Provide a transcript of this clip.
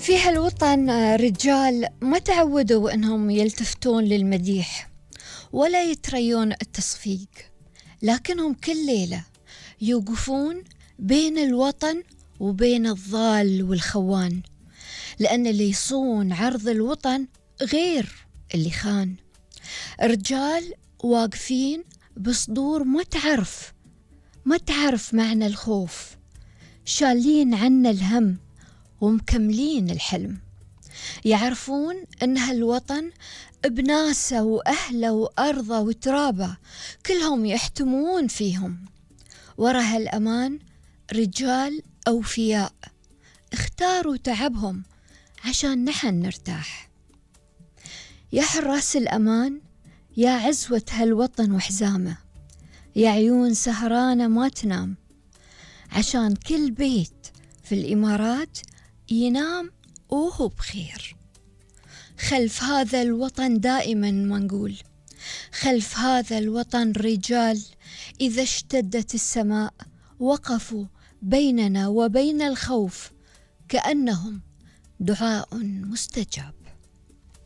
في هالوطن رجال ما تعودوا أنهم يلتفتون للمديح ولا يتريون التصفيق، لكنهم كل ليلة يوقفون بين الوطن وبين الضال والخوان، لأن اللي يصون عرض الوطن غير اللي خان. رجال واقفين بصدور ما تعرف معنى الخوف، شالين عنا الهم ومكملين الحلم. يعرفون أن هالوطن بناسه وأهله وأرضه وترابه كلهم يحتمون فيهم. ورا هالأمان رجال أوفياء اختاروا تعبهم عشان نحن نرتاح. يا حراس الأمان، يا عزوة هالوطن وحزامه، يا عيون سهرانة ما تنام، عشان كل بيت في الإمارات ينام وهو بخير. خلف هذا الوطن دائما ما نقول، خلف هذا الوطن رجال إذا اشتدت السماء وقفوا بيننا وبين الخوف كأنهم دعاء مستجاب.